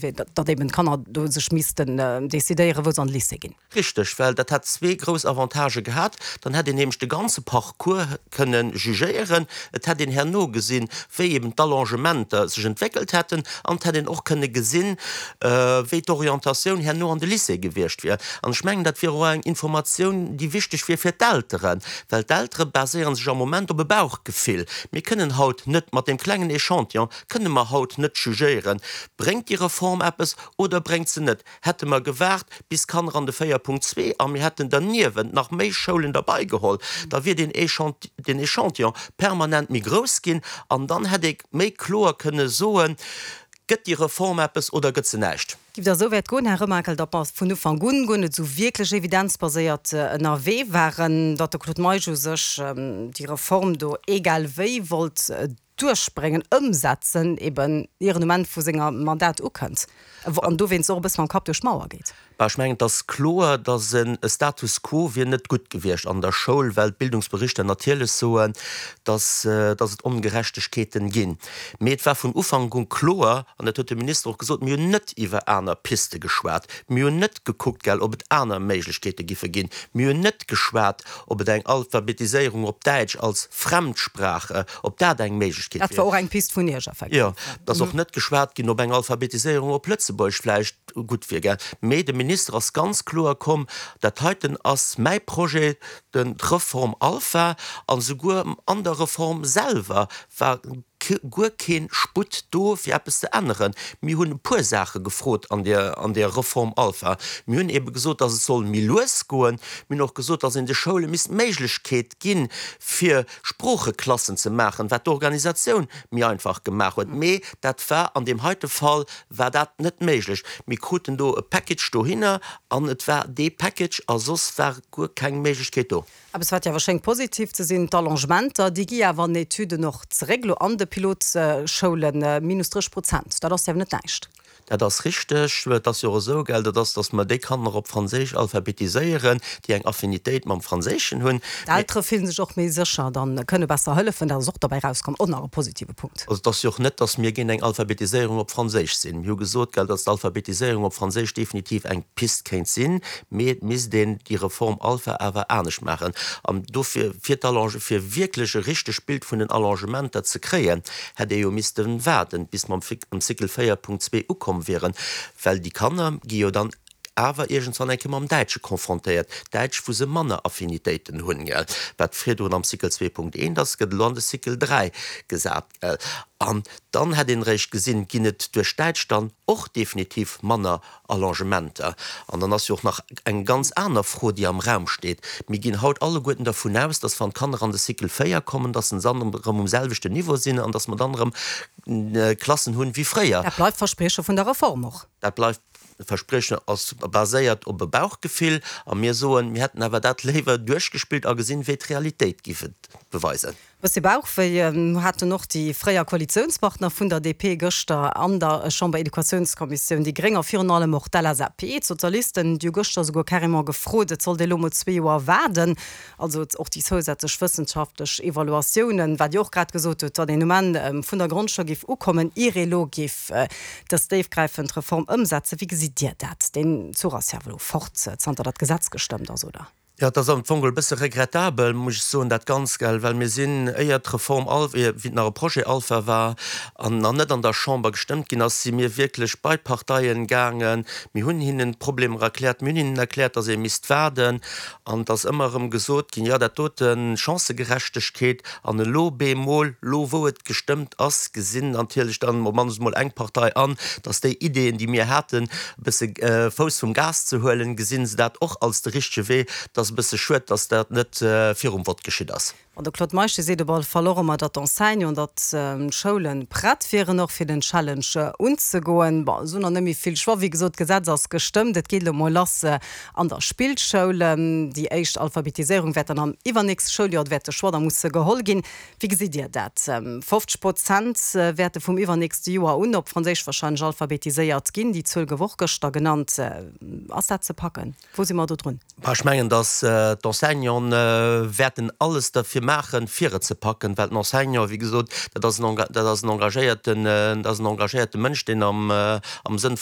Wier, datt eben d'Kanner do sech missten decidéieren, wou se an de Lycée ginn. Richteg, well dat hätt zwee grouss Avantagë gehat, Dann hätt een nämlech de ganze Parcours kënne jugéieren, et hätt een herno gesinn, wéi eben d'Allongementer sech entwéckelt hätten, an et hätt een och kënne gesinn, wéi d'Orientatioun herno an de Lycée gewiescht wier. An ech mengen, dat wier och eng Informatioun, déi wichteg wier fir d'Elteren, well d'Eltere baséiere sech am Moment op e Bauchgefill. Mir kënnen haut net mat deem klengen Echantillon Kënne mer haut net jugéieren, bréngt déi Reform eppes oder bréngt se net? Hätte mer gewaart bis d'Kanner an de 4.2 a mir hätten derniewent nach méi Schoulen derbeigeholl, da wier deen Echantillon permanent méi grouss ginn an dann hätt ee méi kloer kënne soen, Gëtt déi Reform eppes oder gëtt se näischt? Giff der esou wäit goen, Här Remakel, datt mer vun Ufank un guer net esou wierklech evidenzbaséiert ënnerwee waren, datt de Claude Meisch u sech déi Reform do egal wéi wollt duerchbréngen, ëmsetzen, eben ier en um Enn vu senger Mandat ukënnt an dowéinst och e bësse mam Kapp duerch d'Mauer geet. Bah, ech mengen, et ass kloer, datt e Status quo wier net gutt gewiescht an der Schoul, well d'Bildungsberichter natierlech soen, datt datt et Ongerechtegkeeten ginn. Mee et war vun Ufank u kloer, an dat huet de Minister och gesot, mir hunn net iwwer aner Piste geschwat, mir hunn net gekuckt, gell, ob et aner Méiglechkeete giffe ginn, mir hunn net geschwat, ob et eng Alphabetiséierung op Däitsch als Fremdsprache, ob dat eng Méiglechkeet wier. Dat war och eng Pist vun Iech effektiv. Jo, et ass och net geschwat ginn, ob eng Alphabetiséierung op Lëtzebuergesch vläicht gutt wier, gell. Mee de Minister ass ganz kloer komm, Dat heiten ass mäi Projet, den d'Reform Alpha. An esouguer an der Reform selwer war guer kee Sputt do, fir eppes ze änneren. Mir hunn e puer Saache gefrot an där, an där Reform Alpha. Mir hunn ebe gesot, dass et soll méi lues goen. Mir hunn och gesot, dass een de Schoule misst d'Méiglechkeet ginn, fir Sproocheklassen ze maachen, wat d'Organisatioun méi einfach gemaach huet. Mee dat war an deem heite Fall war dat net méiglech. Mir kruten do e Package dohinner an et war dee Package a soss war guer keng Méiglechkeet do. Eppes wat jo awer schéngt positiv ze sinn, d'Allongementer, déi gi awer an Etüden och zeréck, elo an de Pilotschoulen, minus 30 Prozent, dat ass jo awer net näischt. Dat ass richteg. Et ass jo och esou, gell, dat ass, datt mer déi Kanner op Franséisch alphabetiséieren, déi eng Affinitéit mam Franséischen hunn. D'Eltere fillen sech och méi sécher, dann kënne besser hëllefen, dat ass och derbäi rauskomm, och nach e positive Punkt. Also et ass jo och net, datt mir géint eng Alphabetiséierung op Franséisch sinn. Mir hu gesot, gell, datt d'Alphabetiséierung op Franséisch definitiv eng Pist kéint sinn, Mee et misst een déi Reform Alpha awer anescht maachen. An dofir, fir d'Allonge, fir wierklech e richtegt Bild vun den Allongementer ze kréien, hätt ee jo misste waarden, bis mer am Cycle 4.2 ukomm wieren, well déi Kanner gi jo dann awer iergendwann eng Kéier mam Däitsche confrontéiert, Däitsch, wou se manner Affinitéiten hunn, gell. Wat virdrun am Cycle 2.1 ass, gëtt elo an de Cycle 3 gesat, gell. An dann hätt een eréischt gesinn, ginn et duerch Däitsch dann och definitiv manner Allongementer. An dann ass jo och nach eng ganz aner Fro, déi am Raum steet. Mir ginn haut alleguerten dervun aus, dass wann d'Kanner an de Cycle 4 kommen, dass se dann erëm um selwechten Niveau sinn an dass mer dann erëm Klassen hunn wéi fréier. Dat bleift d'Versprieche vun der Reform och. Dat bleift d'Verspriechen, ass baséiert op e Bauchgefill. A mir soen, mir hätten awer dat léiwer duerchgespillt a gesinn, wéi d'Realitéit géif et beweisen. Bëssi Bauchwéi haten och déi fréier Koalitiounspartner vun der DP gëschter an der Chamber-Educatiounskommissioun, déi Gréng a virun allem och d'LSAP. D'Sozialisten, déi hu gëschter esouguer carrément gefrot, et sollt ee lo mol zwee Joer waarden, also och déi zousätzlech wëssenschaftlech Evaluatiounen, wat Dir och grad gesot hutt, datt een um Enn vun der Grondschoul géif ukommen, ier ee lo géif dës déifgräifend Reform ëmsetzen. Wéi gesitt Dir dat? Deen Zuch ass jo awer elo fort, zanter datt d'Gesetz gestëmmt ass, oder? Jo, et ass am Fong e bësse regrettabel, muss ech soen, dat Ganzt, gell, well mir sinn, éier d'Reform Alpha, wéi et nach e Projet Alpha war an nach net an der Chamber gestëmmt ginn ass, si mir wierklech bei d'Parteien gaangen. Mir hunn hinnen d'Problemer erkläert, mir hunn hinnen erkläert, dass ee misst waarden an et ass ëmmer erëm gesot ginn, jo, dat doten, Chancëgerechtegkeet, An elo bemol, lo wou et gestëmmt ass, gesinn natierlech dann op mannst emol eng Partei an, datt déi Ideeën, déi mir haten, e bësse Fouss vum Gas ze huelen, gesinn se dat och als de richtege Wee. Et ass e bësse schued, datt dat net virum Vott geschitt ass. Bon, de Claude Meisch, dee seet op alle Fall och ëmmer, datt d'Enseignanten, datt d'Schoule prett wieren och fir den Challenge unzegoen. Bon, se hunn nach net méi vill Choix. Wéi gesot, d'Gesetz ass gestëmmt, et geet elo mol lass An der Spillschoul. Déi éischt Alphabetiséierung wäert dann am iwwernächste Schouljoer, wäert de Choix da musse geholl ginn. Wéi gesitt Dir dat? 50 Prozent wäerte vum iwwernächste Joer un op Franséisch warscheinlech alphabetiséiert ginn. Déi Zuel gouf och gëschter genannt. Ass dat ze packen? Wou si mer do drun? Ech mengen, datt d'Enseignanten wäerten alles derfir maachen, fir et ze packen, well den Enseignant, wéi gesot, dat ass en, dat ass en engagéierten, dat ass en engagéierte Mënsch, deen am Sënn vum.